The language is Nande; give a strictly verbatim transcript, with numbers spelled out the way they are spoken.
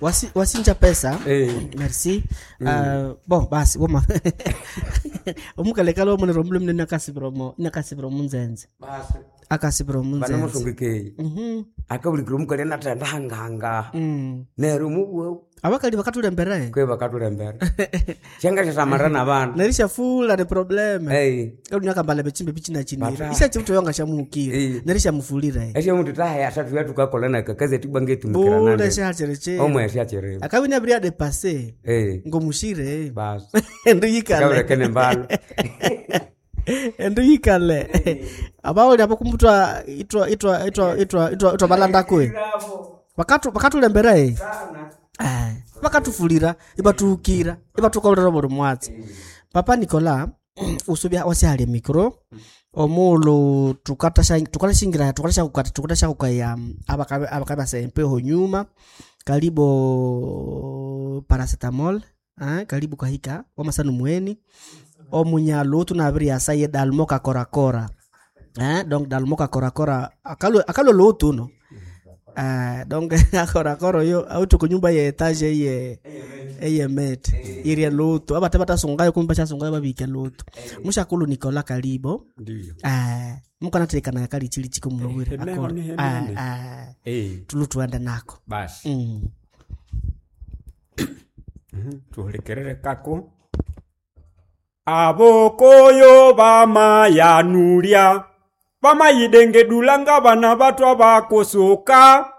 Wasi, wasinja pesa. Eh. Merci. Uh, bon basi woma omukalekala omunero omulwe munene akasibira omo inakasibira omunzenze Basi akasibira omunzenze. Banamusungikei Mhm. akabulikira omukali anathenda hangahanga Mm. neryo mubweu Abakali bakatulembere kwe bakatulembera syangashasamarira nabana. Nerishafula ni probleme. Ei. Kalunyakambala bechimbe bichinachinire Bata. ishachimutoyonga shamuhukire. Eh. Nerishamufulire. Esyo muntu tahe asathu yatukakola nakakazi atibwangetumikira Bule nande shachere. omwe asyachiriwa. Akabini abiria de passe Eh. ngomushire. Basi Endu yikale. kaburekene mbalo. Endu yikale abaoli abo kumutwa itwa itwa itwa itwa itwa itwa balanda kwe bakatu bakatulembera eh eh bakatufulira ibatuhukira ibatukolera buli mwatsi. Papa Nicola usubya wasihala micro omulu tukatasha tukatashingira tukatasha kukata tukatasha kukaya abakabe abakabe sempeho nyuma kalibo paracetamol eh, kalibu kahika wamasanu mweni omunyalu tunabiri asaye dalmo kakorakora eh, donc dalmo kakorakora akalo akalo lutuno eh, donc akorakora yo autu kunyumba ye etage ye eye met irie lutu abate batasungayo kumba chasungayo babike lutu mushakulu Nicola kalibo. Ndiyo. Eh, mukanatekana yakali chili chiko mulowire Hemeno akora ni eh, hemene. eh, Eh, tulu tuende nako. Basi mm. Tuhulikirire kako abokoyo bamayanulya bamayidengedula nga bana batwa bakusuka.